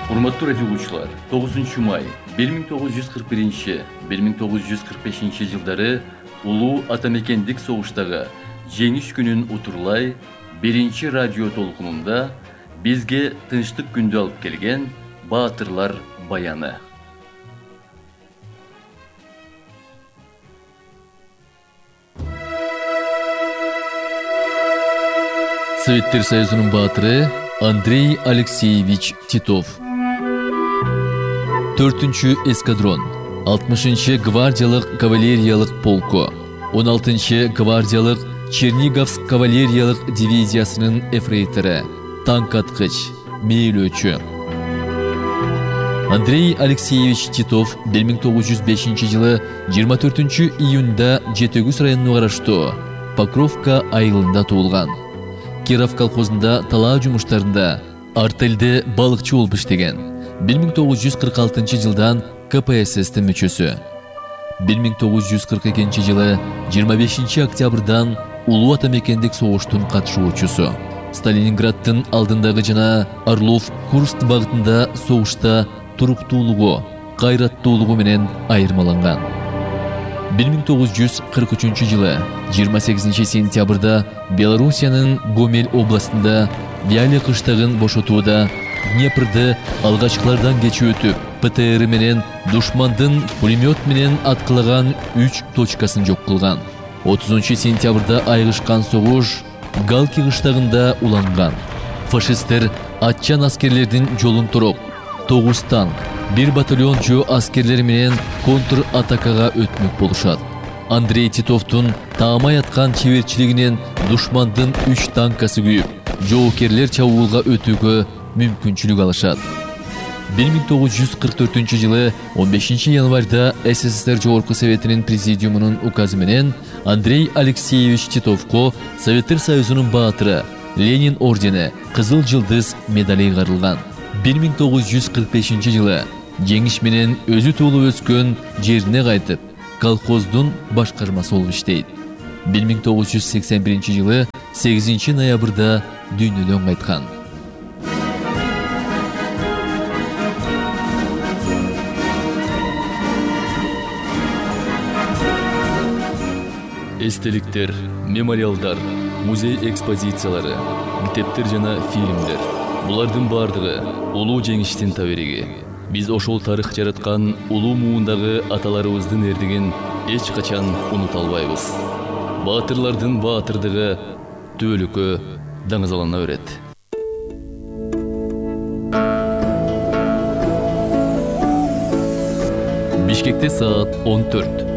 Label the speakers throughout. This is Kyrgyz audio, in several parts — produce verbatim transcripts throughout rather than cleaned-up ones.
Speaker 1: Урматтуу радио угуучулар, тогузунчу май бир миң тогуз жүз кырк биринчи — бир миң тогуз жүз кырк бешинчи жылдары улуу атамекендик согуштагы жеңиш күнүн утурлай биринчи радио толкунунда бизге тынчтык күндү алып келген баатырлар баяны. Советтер Союзунун баатыры Андрей Алексеевич Титов. төртүнчү эскадрон, алтымышынчы гвардиялык кавалериялык полку, он алтынчы гвардиялык Черниговск кавалериялык дивизиясынын эфрейтору, танк аткыч, мээлөөчү. Андрей Алексеевич Титов бир миң тогуз жүз бешинчи жылы жыйырма төртүнчү июнда Жетөгүз районуна караштуу Покровка айылында туулган. Киров колхозунда талаа жумуштарында артелде балыкчы болуп иштеген. бир миң тогуз жүз кырк алтынчы жылдан ка пэ эс эстин мүчөсү. бир миң тогуз жүз кырк экинчи жылы жыйырма бешинчи октябрдан улуу атамекендик согуштун катышуучусу. Сталининграддын алдындагы жана Орлов-Курск багытында согушта туруктуулугу, кайраттуулугу менен айырмаланган. бир миң тогуз жүз кырк үчүнчү жылы жыйырма сегизинчи сентябрда Белоруссиянын Гомель областында Вяле кыштагын бошотууда Днепрды алгачкылардан кечип өтүп, пэ тэ эр менен душмандын пулемет менен аткылаган үч точкасын жок кылган. отузунчу сентябрда айгышкан согуш Галки кыштагында уланган. Фашисттер атчан аскерлердин жолун туруп, тогуз танк, бир батальон жөө аскерлери менен контр атакага өтмөк болушат. Андрей Титовдун таамай аткан чеберчилигинен душмандын үч танкасы күйүп, жоокерлер чабуулга өтүүгө мүмкүнчүлүк алышат. бир миң тогуз жүз кырк төртүнчү жылы он бешинчи январда эс эс эс эр Жогорку Советинин президиумунун указы менен Андрей Алексеевич Титовго Советтер Союзунун баатыры, Ленин ордени, Кызыл жылдыз медали ыйгарылган. бир миң тогуз жүз кырк бешинчи жылы жеңиш менен өзү туулуп өскөн жерине кайтып, колхоздун башкармасы болуп иштейт. бир миң тогуз жүз сексен биринчи жылы сегизинчи ноябрда дүйнөдөн кайткан. Эстеликтер, мемориалдар, музей экспозициялары, китептер жана фильмдер. Булардын бардыгы улуу жеңиштин табериги. Биз ошол тарых жараткан улуу муундагы аталарыбыздын эрдигин эч качан унута албайбыз. Баатырлардын баатырдыгы түбөлүккө даңазалана берет. Бишкекте саат он төрт.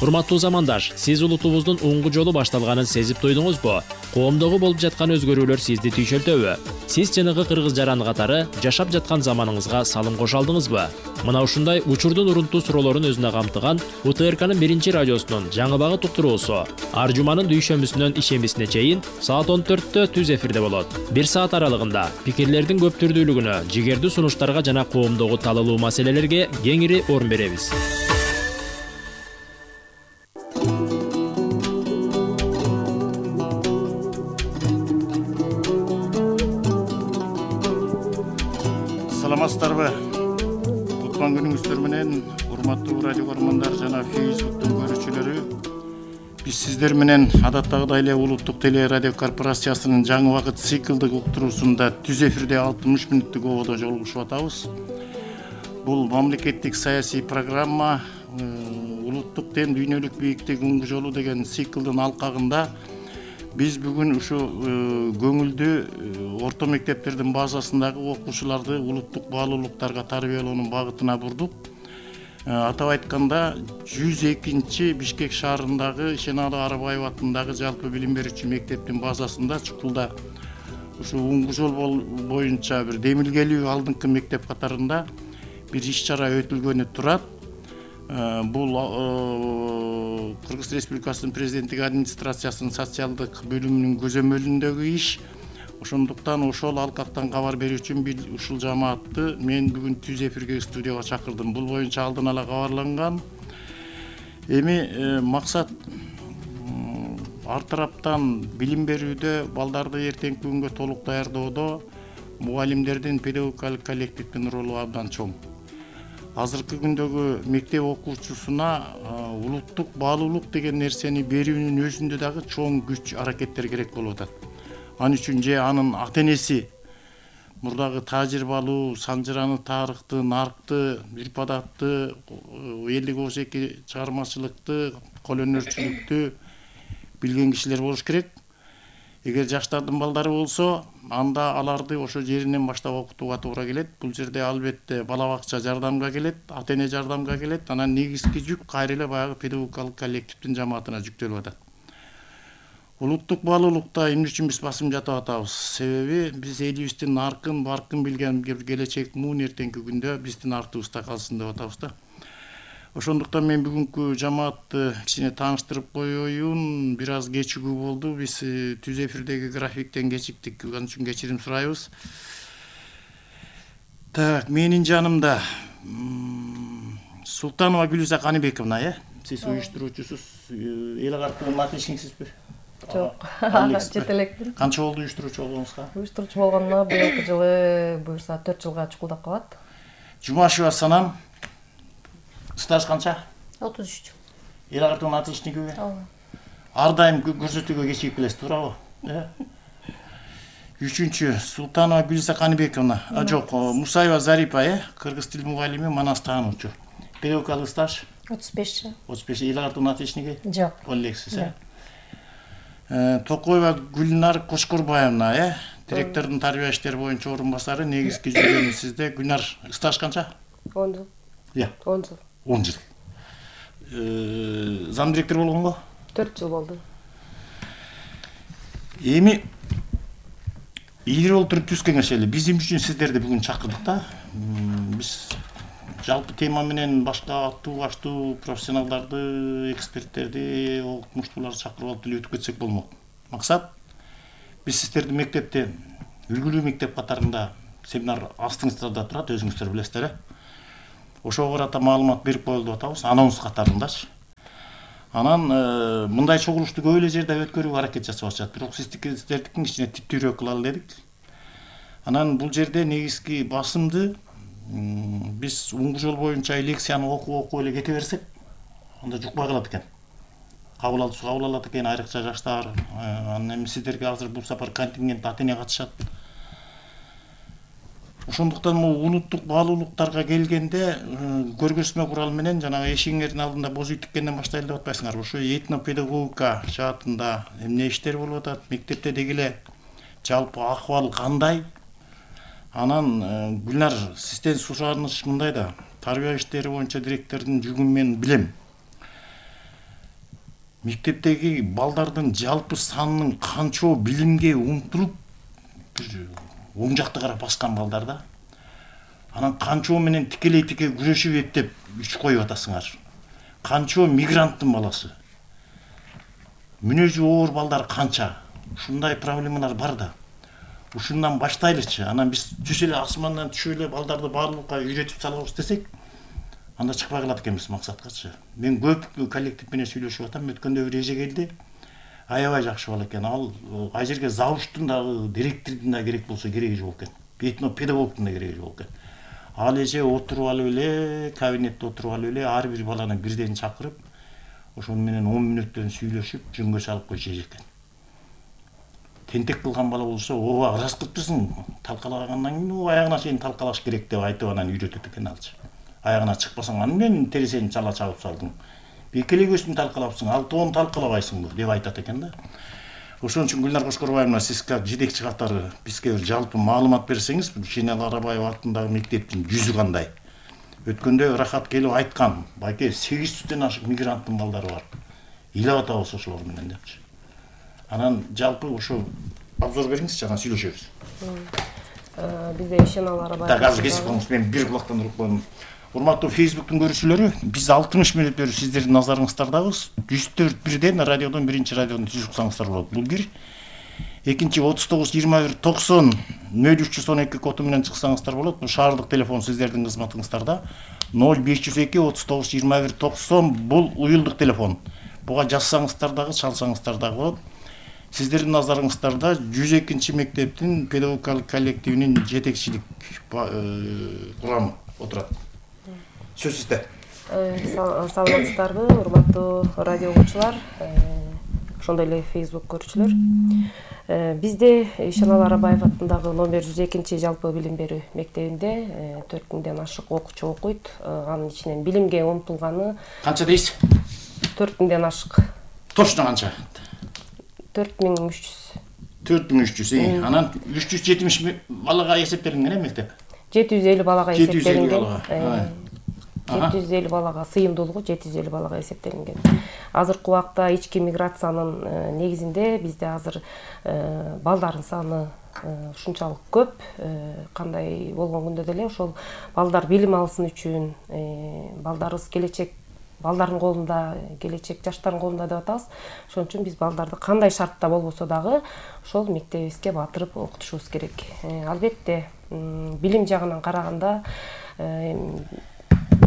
Speaker 2: Урматтуу замандаш, сиз улутубуздун оңгу жолу башталганын сезип туйдуңузбу? Коомдогу болуп жаткан өзгөрүүлөр сизди түйшөлтөбү? Сиз жанагы кыргыз жаран катары жашап жаткан заманыңызга салым кошо алдыңызбы? Мына ушундай учурдун урунтуу суроолорун өзүнө камтыган у тэ эр канын биринчи радиосунун жаңы багыт уктуруусу ар жуманын дүйшөмүсүнөн ишембисине чейин саат он төрттө түз эфирде болот. Бир саат аралыгында пикирлердин көп түрдүүлүгүнө, жигердүү сунуштарга жана коомдогу талалуу маселелерге кеңири орун беребиз.
Speaker 3: Саламатсыздарбы? Куткан күнүңүздөр менен, урматтуу радио көрөрмандар жана Фейсбуктун көрүүчүлөрү. Биз сиздер менен адаттагыдай эле Улуттук теле радио корпорациясынын жаңы багыт циклдык уктуруусунда түз эфирде алтымыш мүнөттүк ободо жолугушуп атабыз. Бул мамлекеттик саясий программа улуттук тем дүйнөлүк бийиктик оңгу жолу деген циклдын алкагында биз бүгүн ушу көңүлдүү орто мектептердин базасындагы окуучуларды улуттук баалуулуктарга тарбиялоонун багытына бурдук. Атап айтканда жүз экинчи Бишкек шаарындагы Ишеналы Арабаев атындагы жалпы билим берүүчү мектептин базасында Чукулда ушу оңгу жол боюнча бир демилгелүү алдыңкы мектеп катарында бир иш чара өтүлгөнү турат. Бул Кыргыз Республикасынын президенттик администрациясынын социалдык бөлүмүнүн көзөмөлүндөгү иш. Ошондуктан ошол алкактан кабар берүү үчүн ушул жамаатты мен бүгүн түз эфирге студияга чакырдым. Бул боюнча алдын ала кабарланган. Эми максат ар тараптан билим берүүдө, балдарды эртеңки күнгө толук даярдоодо мугалимдердин, педагогикалык коллективдин ролу абдан чоң. Азыркы күндөгү мектеп окуучусуна улуттук баалуулук деген нерсени берүүнүн өзүндө дагы чоң күч аракеттер керек болуп атат. Ал үчүн же анын ата энеси мурдагы тажрыйбалуу, санжыраны тарыхты, наркты, ирпадатты, элдик оозеки чыгармачылыкты, кол өнөрчүлүктү билген кишилер болуш керек. Эгер жаштардын балдары болсо, анда аларды ошо жеринен баштап окутууга туура келет. Бул жерде албетте бала бакча жардамга келет, ата эне жардамга келет. Анан негизги жүк кайра эле баягы педагогикалык коллективдин жамаатына жүктөлүп атат. Улуттук баалуулукта эмне үчүн биз басым жатып атабыз? Себеби биз элибиздин наркын, баркын билген келечек муун эртеңки күндө биздин артыбызда калсын деп атабыз да. Ошондуктан мен бүгүнкү жамаатты кичине тааныштырып коеюн. Бир аз кечигүү болду. Биз түз эфирдеги графиктен кечиктик. Ал үчүн кечирим сурайбыз. Так, менин жанымда Султанова Гүлиза Каныбековна, э? Сиз уюштуруучусуз, эл агартуугунун отличниксизби?
Speaker 4: Жок, чет элекмин.
Speaker 3: Канча болду уюштуруучу болгонуңузга?
Speaker 4: Уюштуруучу болгонуна быйылкы жылы буюрса төрт жылга чукулдап калат.
Speaker 3: Жумашева Санам, стаж канча?
Speaker 4: отуз үч.
Speaker 3: Эл агартуугунун отличниги?
Speaker 4: Ооба.
Speaker 3: Ар дайым көрсөтүүгө кечигип келесиз, туурабы? Э? Үчүнчү Султанова Гүлиза Каныбековна, а жок, Мусаева Зарипа, э? Кыргыз тил мугалими, манас таануучу. Педагогикалык стаж?
Speaker 4: отуз беш.
Speaker 3: отуз беш. Эл агартуугунун отличниги?
Speaker 4: Жок.
Speaker 3: Ол элексиз, э? Токоева Гүлнар Кошкорбаевна, э? Директордун тарбия иштери боюнча орун басары, негизги жүргөнү сизде. Гүлнар, стаж канча?
Speaker 4: он жыл.
Speaker 3: Иә.
Speaker 4: он жыл.
Speaker 3: он жыл. Зам директор болгонго?
Speaker 4: төрт жыл болду.
Speaker 3: Эми илгери олтуруп түз кеңешели. Биз эмне үчүн сиздерди бүгүн чакырдык да? Биз жалпы тема менен башка аттуу баштуу профессионалдарды, эксперттерди, окумуштууларды чакырып алып деле өтүп кетсек болмок. Максат биз сиздерди мектепте үлгүлүү мектеп катарында семинар астыңыздарда турат, өзүңүздөр билесиздер, э? Ошого карата маалымат берип коелу деп атабыз, анонс катарындачы. Анан мындай чогулушту көп эле жерде өткөрүүгө аракет жасап атышат. Бирок сиздердикин кичине типтүүрөөк кылалы дедик. Анан бул жерде негизги басымды биз уңгу жол боюнча лекцияны окуп окуп эле кете берсек, анда жукпай калат экен. Кабыл алуучу кабыл алат экен, айрыкча жаштар. Анан эми сиздерге азыр бул сапар контингент ата эне катышат. Ошондуктан бул улуттук баалуулуктарга келгенде көргөзмө куралы менен жанагы эшигиңердин алдында боз үй тиккенден баштайлы деп атпайсыңар. Ошо этнопедагогика жаатында эмне иштер болуп атат, мектепте деги эле жалпы акыбал кандай? Анан Гүлнар, сизден сураныш мындай да, тарбия иштери боюнча директордун жүгүн мен билем. Мектептеги балдардын жалпы санынын канчоо билимге умтулуп оң жакты карап баскан балдар да. Анан канчоо менен тикелей тике күрөшүп эптеп үч коюп атасыңар. Канчоо мигранттын баласы. Мүнөзү оор балдар канча. Ушундай проблемалар бар да. Ушундан баштайлычы. Анан биз түз эле асмандан түшүп эле балдарды баалуулукка үйрөтүп салабыз десек, анда чыкпай калат экенбиз максаткачы. Мен көп коллектив менен сүйлөшүп атам. Өткөндө бир эже келди. Аябай жакшы бала экен. Ал ай жерге завуштун дагы, директордун да керек болсо кереги жок экен. Этно педагогдун да кереги жок экен. Ал эже отуруп алып эле, кабинетте отуруп алып эле, ар бир баланы бирден чакырып, ошол менен он мүнөттөн сүйлөшүп, жөнгө салып койчу экен. Тентек кылган бала болсо, ооба ыраскыптысың, талкалагандан кийин аягына чейин талкалаш керек деп айтып анан үйрөтөт экен алчы. Аягына чыкпасаң, аны менен тересени чала чабып салдың. Бекелегөсүн талкалапсың, ал тоон талкалабайсыңбы деп айтат экен да. Ошон үчүн Гүлнар Кошкорбаевна, сиз как жетекчи катары бизге бир жалпы маалымат берсеңиз, Жинел Арабаева атындагы мектептин жүзү кандай? Өткөндө Рахат келип айткан, байке сегиз жүздөн ашык мигранттын балдары бар. Ыйлап атабыз ошолор менен депчи. Анан жалпы ошо обзор бериңизчи, анан сүйлөшөбүз.
Speaker 4: Бизде Жинел Арабаева.
Speaker 3: Так, азыр кесип коюңуз, мен бир кулактан уруп коем. Урматтуу Фейсбуктун көрүүчүлөрү, биз алтымыш мүнөт берип сиздердин назарыңыздардабыз. жүз төрт бирден радиодон, биринчи радиодон түз уксаңыздар болот. Бул бир. Экинчи отуз тогуз жыйырма бир токсон нөл үч жүз он эки коду менен чыксаңыздар болот. Бул шаардык телефон сиздердин кызматыңыздарда. ноль беш жүз эки отуз тогуз жыйырма бир токсон бул уюлдук телефон. буга жазсаңыздар дагы, чалсаңыздар дагы болот. Сиздердин назарыңыздарда жүз экинчи мектептин педагогикалык коллективинин жетекчилик курамы отурат. Сөз сизде.
Speaker 4: Саламатсыздарбы, урматтуу радио угуучулар, ошондой эле Facebook көрүүчүлөр. Бизде Ишеналы Арабаев атындагы номер жүз экинчи жалпы билим берүү мектебинде төрт миңден ашык окуучу окуйт. Анын ичинен билимге умтулганы
Speaker 3: канча дейсиз?
Speaker 4: төрт миңден ашык.
Speaker 3: Точно канча?
Speaker 4: төрт миң үч жүз.
Speaker 3: төрт миң үч жүз. Анан үч жүз жетимиш балага эсептелинген э мектеп?
Speaker 4: жети жүз элүү балага эсептелинген.
Speaker 3: жети
Speaker 4: жүз элүү балага сыйымдуулугу жети жүз элүү балага эсептелинген. Азыркы убакта ички миграциянын негизинде бизде азыр балдардын саны ушунчалык көп. Кандай болгон күндө деле ошол балдар билим алсын үчүн, балдарыбыз келечек, балдардын колунда, келечек жаштардын колунда деп атабыз. Ошон үчүн биз балдарды кандай шартта болбосо дагы ошол мектебибизге батырып окутушубуз керек. Албетте, билим жагынан караганда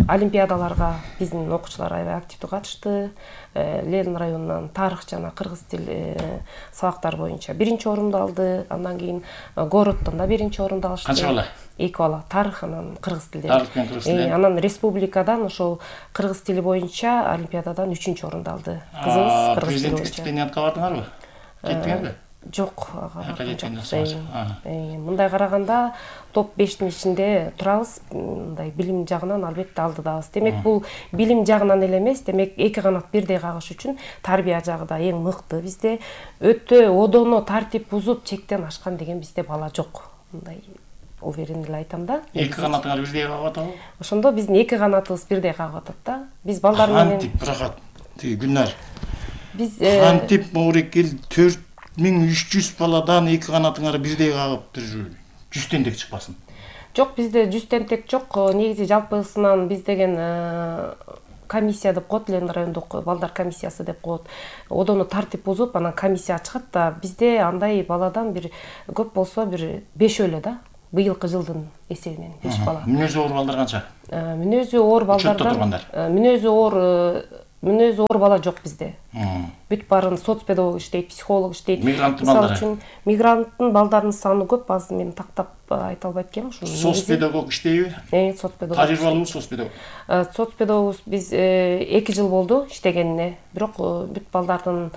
Speaker 4: олимпиадаларга биздин окуучулар аябай активдүү катышты. Ленин районунан тарых жана кыргыз тил сабактары боюнча биринчи орунду алды. Андан кийин городдон да биринчи орунду алышты.
Speaker 3: Канча бала?
Speaker 4: Эки бала. Тарых анан кыргыз тилден.
Speaker 3: Тарых менен кыргыз тилден.
Speaker 4: Анан республикадан ошол кыргыз тили боюнча олимпиададан үчүнчү орунду алды. Кызыбыз кыргыз тили боюнча.
Speaker 3: Президенттик стипендияга бардыңарбы? Жеттиңерби?
Speaker 4: Жок, мындай караганда топ бештин ичинде турабыз. Мындай билим жагынан албетте алдыдабыз. Демек бул билим жагынан эле эмес, демек эки канат бирдей кагыш үчүн тарбия жагы да эң мыкты. Бизде өтө одоно тартип бузуп чектен ашкан деген бизде бала жок. Мындай уверен эле айтам да.
Speaker 3: Эки канатыңар бирдей кагып атабы?
Speaker 4: Ошондо биздин эки канатыбыз бирдей кагып атат да. Биз балдар менен
Speaker 3: Кантип бирахат. Тиги Гүлнар.
Speaker 4: Биз
Speaker 3: кантип Моорекил төрт миң үч жүз баладан эки канатыңар бирдей кагып бир жүз тентек чыкпасын?
Speaker 4: Жок, бизде жүз тентек жок. Негизи жалпысынан биз деген комиссия деп коет, Ленин райондук балдар комиссиясы деп коет. Одону тартип бузуп, анан комиссия чыгат да, бизде андай баладан бир көп болсо бир беш эле да. Быйылкы жылдын эсебинен беш бала.
Speaker 3: Мүнөзү оор балдар канча?
Speaker 4: Мүнөзү оор балдардан мүнөзү оор мүнөзү оор бала жок бизде. Бүт барын соцпедагог иштейт, психолог иштейт.
Speaker 3: Мигранттын балдары.
Speaker 4: Мисалы үчүн мигранттын балдарынын саны көп, азыр мен тактап айта албайт экенмин.
Speaker 3: Соцпедагог иштейби?
Speaker 4: Э, соцпедагог.
Speaker 3: Тажрыйбалуу соцпедагог.
Speaker 4: Соцпедагог биз эки жыл болду иштегенине. Бирок бүт балдардын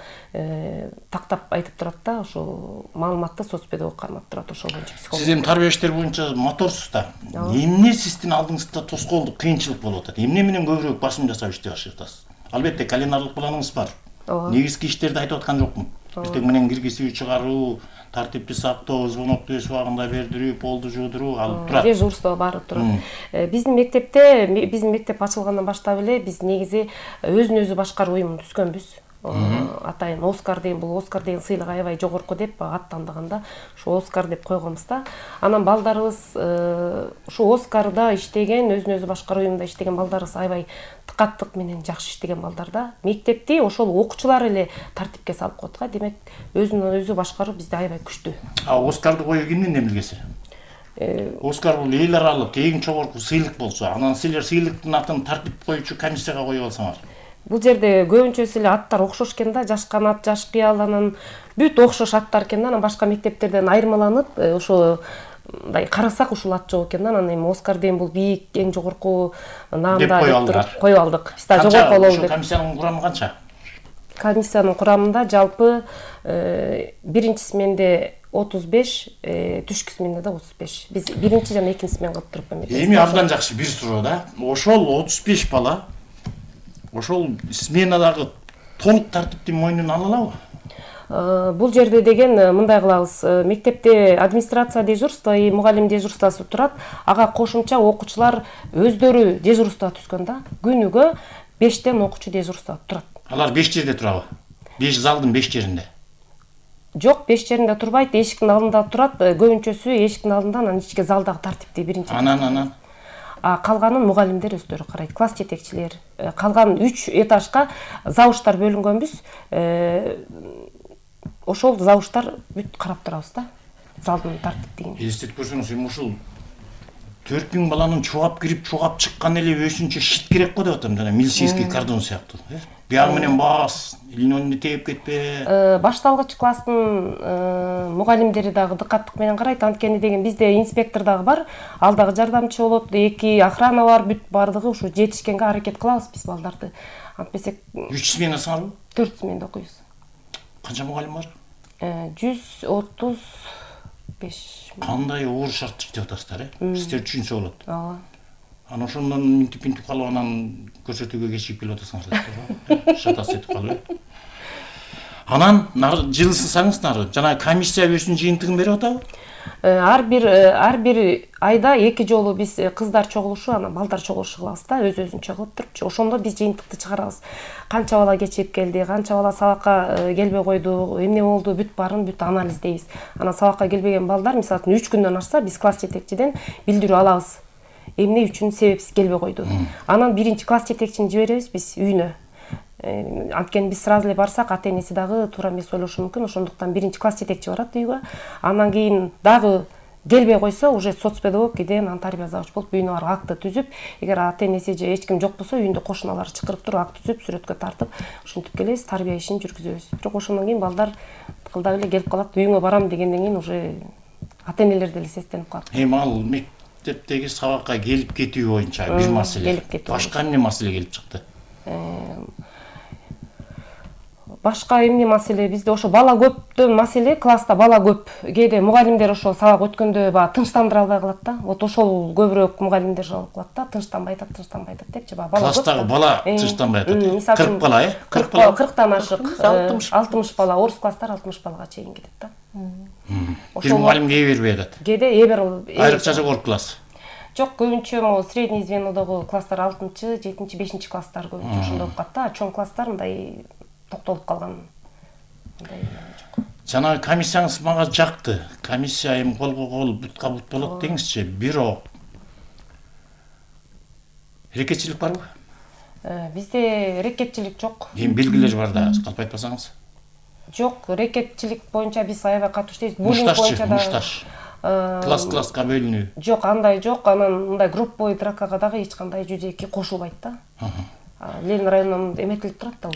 Speaker 4: тактап айтып турат да, ошол маалыматты соцпедагог кармап турат, ошол боюнча психолог.
Speaker 3: Сиз эми тарбия иштери боюнча моторсуз да. Эмне сиздин алдыңызда тоскоолдук, кыйынчылык болуп атат? Эмне менен көбүрөөк басым жасап иштей баштайсыз? Албетте календарлык планыңыз бар. Негизги иштерди айтып аткан жокмун. Биртек менен киргизүү, чыгаруу, тартипти сактоо, звонокту өз убагында бердирүү, полду жуудуруу алып турат.
Speaker 4: Дежурство баары турат. Биздин мектепте, биздин мектеп ачылгандан баштап эле биз негизи өзүн өзү башкаруу уюмун түзгөнбүз. Атайын Оскар деген, бул Оскар деген сыйлык аябай жогорку деп аттандыганда ушу Оскар деп койгонбуз да. Анан балдарыбыз ушу Оскарда иштеген, өзүн өзү башкаруу уюмунда иштеген балдарыбыз аябай тыкаттык менен жакшы иштеген балдар да. Мектепти ошол окуучулар эле тартипке салып коет го. Демек өзүн өзү башкаруу бизде аябай күчтүү.
Speaker 3: А Оскарды коюу кимдин эмилгеси? Оскар бул эл аралык эң жогорку сыйлык болсо, анан силер сыйлыктын атын тартип коюучу комиссияга коюп алсаңар.
Speaker 4: Бул жерде көбүнчөсү эле аттар окшош экен да, жаш канат, жаш кыял, анан бүт окшош аттар экен да, анан башка мектептерден айырмаланып, ошо мындай карасак ушул ат жок экен да, анан эми Оскар деген бул бийик, эң жогорку наамда деп туруп коюп алдык. Биз да жогорку бололу деп.
Speaker 3: Комиссиянын курамы канча?
Speaker 4: Комиссиянын курамында жалпы биринчи сменде отуз беш, түшкү сменде да отуз беш. Биз биринчи жана экинчи смен кылып туруп
Speaker 3: эми абдан жакшы бир суроо да. Ошол отуз беш бала ошол сменадагы толук тартипти мойнуна ала алабы?
Speaker 4: Бул жерде деген мындай кылабыз. Мектепте администрация дежурство и мугалим дежурствосу турат. Ага кошумча окуучулар өздөрү дежурство түзгөн да. Күнүгө бештен окуучу дежурство турат.
Speaker 3: Алар беш жерде турабы? беш залдын беш жеринде?
Speaker 4: Жок, беш жеринде турбайт, эшиктин алдында турат. Көбүнчөсү эшиктин алдында, анан ичке залдагы тартипти биринчи.
Speaker 3: Анан анан
Speaker 4: А калганын мугалимдер өздөрү карайт, класс жетекчилер. Калган үч этажга завуштар бөлүнгөнбүз. Ошол завуштар бүт карап турабыз да. Залдын тартиптигин.
Speaker 3: Эстетип көрсөңүз, эми ушул төрт миң баланын чугап кирип чугап чыккан эле өзүнчө щит керек го деп атам, жана милицейский кордон сыяктуу. Биягы менен бас, илинонду тээп кетпе.
Speaker 4: Башталгыч класстын мугалимдери дагы дыкаттык менен карайт, анткени деген бизде инспектор дагы бар, ал дагы жардамчы болот, эки охрана бар, бүт бардыгы ушу жетишкенге аракет кылабыз биз балдарды. Антпесек
Speaker 3: үч сменасыңарбы?
Speaker 4: төрт сменада окуйбуз.
Speaker 3: Канча мугалим бар?
Speaker 4: жүз отуз беш.
Speaker 3: Кандай оор шарт иштеп атасыздар, э? Сиздер түшүнсө болот.
Speaker 4: Ооба.
Speaker 3: Анан ошондон минтип минтип калып анан көрсөтүүгө кечигип келип атасыңар. Шатас этип калып. Анан жылысаңыздар, жана комиссия өзүнүн жыйынтыгын берип атабы?
Speaker 4: Ар бир ар бир айда эки жолу биз кыздар чогулушу, анан балдар чогулушу кылабыз да, өз өзүнчө кылып туруп. Ошондо биз жыйынтыкты чыгарабыз. Канча бала кечигип келди, канча бала сабакка келбей койду, эмне болду, бүт баарын бүт анализдейбиз. Анан сабакка келбеген балдар, мисалы үчүн үч күндөн ашса, биз класс жетекчиден билдирүү алабыз. Эмне үчүн себепсиз келбей койду. Анан биринчи класс жетекчини жиберебиз биз үйүнө. Анткени биз сразу эле барсак, ата энеси дагы туура эмес ойлошу мүмкүн, ошондуктан биринчи класс жетекчи барат үйгө. Андан кийин дагы келбей койсо, уже соцпедагог кийде анан тарбия завуч болуп үйүнө барып акты түзүп, эгер ата энеси же эч ким жок болсо, үйүндө кошуналары чакырып туруп акт түзүп, сүрөткө тартып, ушинтип келебиз, тарбия ишин жүргүзөбүз. Бирок ошондон кийин балдар тыкылдап эле келип калат, үйүңө барам дегенден кийин уже ата энелер деле сестенип калат.
Speaker 3: Эми ал мектептеги сабакка келип кетүү боюнча бир маселе. Башка эмне маселе келип чыкты?
Speaker 4: Башка эмне маселе? Бизде ошо бала көптөн маселе, класста бала көп. Кээде мугалимдер ошо сабак өткөндө баа тынчтандыра албай калат да. Вот ошол көбүрөөк мугалимдер жалып калат да, тынчтанбай атат, тынчтанбай атат депчи. Бала көп.
Speaker 3: Класстагы бала тынчтанбай атат. кырк бала, э?
Speaker 4: кырк бала, кырктан ашык, алтымыш бала, орус класстар алтымыш балага чейин кетет да.
Speaker 3: Бир мугалимге ээ бербей атат.
Speaker 4: Кээде ээ берип,
Speaker 3: айрыкча жогорку класс.
Speaker 4: Жок, көбүнчө могу средний звенодогу класстар алтынчы, жетинчи, бешинчи класстар көбүнчө ошондо окуп калат да. Чоң класстар мындай токтолуп калган.
Speaker 3: Жана комиссияңыз мага жакты. Комиссия эми колго кол, бутка бут болот деңизчи. Бирок рекетчилик барбы?
Speaker 4: Бизде рекетчилик жок.
Speaker 3: Эми белгилер бар да, калп айтпасаңыз.
Speaker 4: Жок, рекетчилик боюнча биз аябай катуу иштейбиз. Буллинг боюнча да.
Speaker 3: Мушташ. Класс-класска бөлүнүү.
Speaker 4: Жок, андай жок. Анан мындай групповой дракага дагы эч кандай жүз эки кошулбайт да. Ленин районунан эметилип турат да.